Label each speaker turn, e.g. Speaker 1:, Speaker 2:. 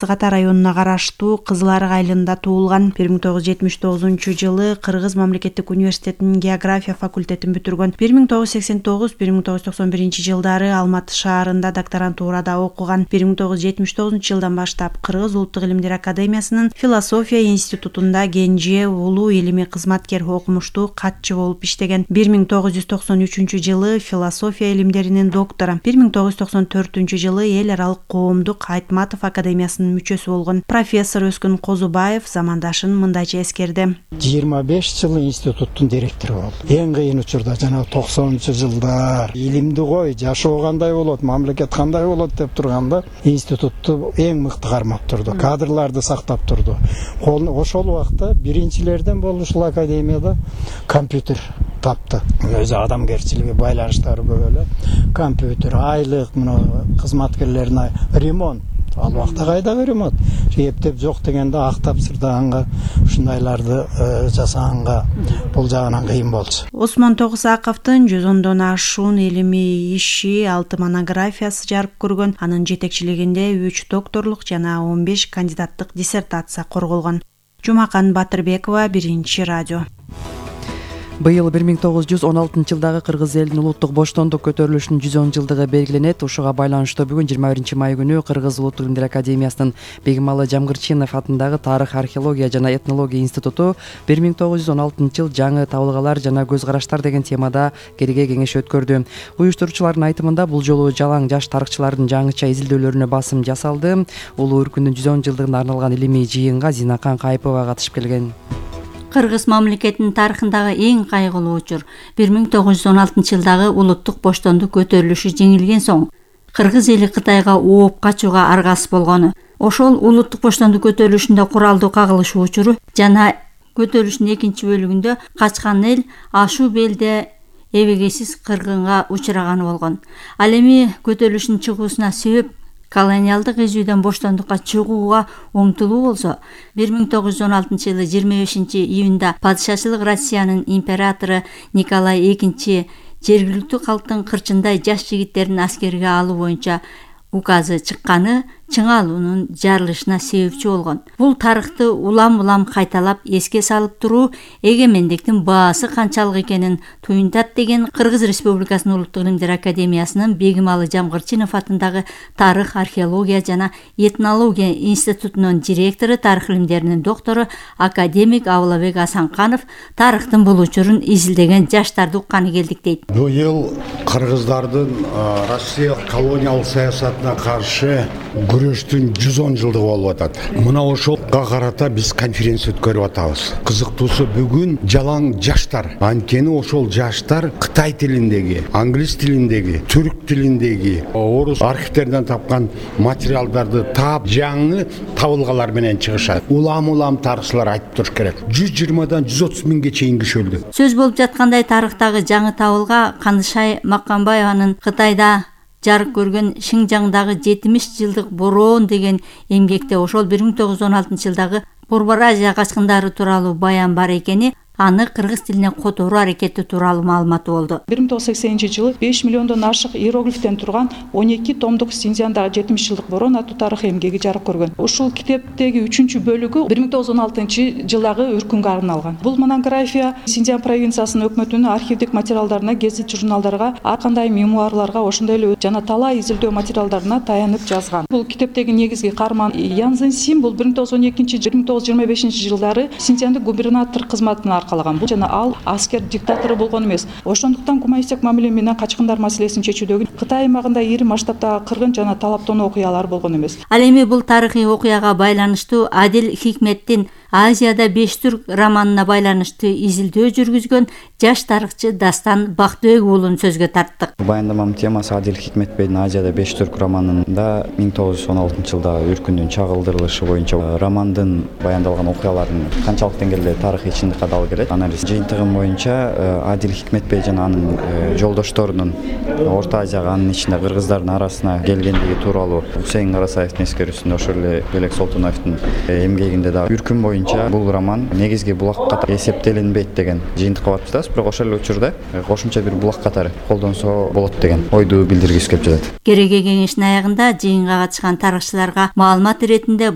Speaker 1: Сыгата районуна караштуу Кызыл Арык айылында туулган. 1979 Кыргыз мамлекеттик университетинин география факультетин бүтүргөн. 1989-1991 жылдары Алматы шаарында докторантурада окуган. 1979 жылдан баштап Кыргыз улуттук илимдер академиясынын философия институтунда кенже улуу илимий кызматкер, окумуштуу катчы болуп иштеген. 1993 жылы философия илимдеринин доктору. 1994 жылы эл аралык коомдук Айтматов академиясынын мүчөсү болгон. Профессор Өскүн Козубаев замандашын мындайча эскерди.
Speaker 2: 25 жыл институттун директору болду. Эң кыйын учурда жана 90-жылдар илимди кой, жашоо кандай болот, мамлекет кандай болот деп турганда институтту эң мыкты кармап турду. Кадрларды сактап турду. Ошол убакта биринчилерден болуп ушул академияда компьютер тапты. Өзү адамгерчилиги байланыштары көп эле. Компьютер, айлык, мына кызматкерлерине ремонт. Ал убакта кайдагы ремонт? Эптеп жок дегенде актап сырдаганга, ушундайларды жасаганга бул жагынан кыйын болчу.
Speaker 1: Осмон Тогусаковдун 110дон ашуун илимий иши, 6 монографиясы жарык көргөн. Анын жетекчилигинде 3 докторлук жана 15 кандидаттык диссертация корголгон. Жумакан Батырбекова, Биринчи радио.
Speaker 3: Быйыл 1916 жылдагы Кыргыз элинин улуттук боштондук көтөрүлүшүнүн 110 жылдыгы белгиленет. Ушуга байланыштуу бүгүн 21 май күнү Кыргыз улуттук илимдер академиясынын Бегималы Жамгырчинов атындагы Тарых, археология жана этнология институту 1916 жыл жаңы табылгалар жана көз караштар деген темада кирге кеңеш өткөрдү. Уюштуруучулардын айтымында бул жолу жалаң жаш тарыхчылардын жаңыча изилдөөлөрүнө басым жасалды. Улуу Үркүндүн 110 жылдыгына арналган илимий жыйынга Зинакан Кайыпова катышып келген.
Speaker 4: Кыргыз мамлекетинин тарыхындагы эң кайгылуу учур 1916 жылдагы улуттук боштондук көтөрүлүшү жеңилген соң Кыргыз эли Кытайга ооп качууга аргасыз болгону. Ошол улуттук боштондук көтөрүлүшүндө куралдуу кагылышуу учуру жана көтөрүлүштүн экинчи бөлүгүндө качкан эл ашуу белде эбегейсиз кыргынга учураганы болгон. Ал эми көтөрүлүштүн чыгуусуна себеп колониалдык изүүдөн боштондукка чыгууга умтулуу болсо, 1916 жылы 25 июнда падышачылык Россиянын императору Николай II жергиликтүү калктын кырчындай жаш жигиттерин аскерге алуу боюнча указы чыкканы чыңалуунун жарылышына себепчи болгон. Бул тарыхты улам кайталап эске салып туруу эгемендиктин баасы канчалык экенин туюнтат деген Кыргыз Республикасынын улуттук илимдер академиясынын Бегималы Жамгырчинов атындагы Тарых, археология жана этнология институтунун директору, тарых илимдеринин доктору академик Абылабек Асанканов тарыхтын бул учурун изилдеген жаштарды укканы келдик дейт.
Speaker 5: Быйыл кыргыздардын Россия колониалдык саясатына каршы күрөштүн 110 жылдыгы болуп атат. Мына ошолго карата биз конференция өткөрүп атабыз. Кызыктуусу бүгүн жалаң жаштар, анткени ошол жаштар Кытай тилиндеги, англис тилиндеги, түрк тилиндеги, орус архивдеринен тапкан материалдарды таап, жаңы табылгалар менен чыгышат. Улам тарыхчылар айтып туруш керек. 120дан 130 миңге чейин киши өлдү.
Speaker 4: Сөз болуп жаткандай тарыхтагы жаңы табылга Кандышай Маккамбаеванын Кытайда жарык көргөн Шинжаңдагы 70 жылдык бороон деген эмгекте ошол 1916 жылдагы Борбор Азия качкындары тууралуу баян бар экени, аны кыргыз тилине которуу аракети тууралуу маалыматы болду.
Speaker 6: 1980 жылы 5 миллиондон ашык иероглифтен турган 12 томдук Шинжаңдагы 70 жылдык бороон аттуу тарых эмгеги жарык көргөн. Ушул китептеги 3-чү бөлүгү 1916 жылдагы Үркүнгө арналган. Бул монография Шинжаң провинциясынын өкмөтүнүн архивдик материалдарына, гезит журналдарга, ар кандай мемуарларга, ошондой эле жана талай изилдөө материалдарына таянып жазган. Бул китептеги негизги каарман Ян Зинсин бул 1912-1925 жылдары Шинжаңдын губернатор кызматына калаган. Бул жана ал аскер диктатору болгон эмес. Ошондуктан гуманисттик мамиле менен качкындар маселесин чечүүдөгү Кытай аймагында ири масштабтагы кыргын жана талаптануу окуялар болгон эмес.
Speaker 4: Ал эми бул тарыхый окуяга байланыштуу Адил Хикметтин Азияда 5 түрк романына байланыштуу изилдөө жүргүзгөн жаш тарыхчы Дастан Бактыбек уулун сөзгө тарттык.
Speaker 7: Баяндаманын темасы Адил Хикметбейдин Азияда 5 түрк романында 1916 жылда Үркүндүн чагылдырылышы боюнча романдын баяндалган окуяларын канчалык деңгээлде тарыхый чындыкка дал келет. Анализ жыйынтыгы боюнча Адил Хикметбей жана анын жолдошторунун Орто Азияга, анын ичинде кыргыздардын арасына келгендиги тууралуу Усейин Карасаевдин эскерүүсүндө, ошол эле Белек Солтоновдун эмгегинде да Үркүн боюнча бул роман негизги булак катары эсептелинбейт деген жыйынтыкка барып жатабыз, бирок ошол эле учурда кошумча бир булак катары колдонсо болот деген ойду билдиргибиз келип жатат.
Speaker 4: Кереге кеңештин аягында жыйынга катышкан тарыхчыларга маалымат иретинде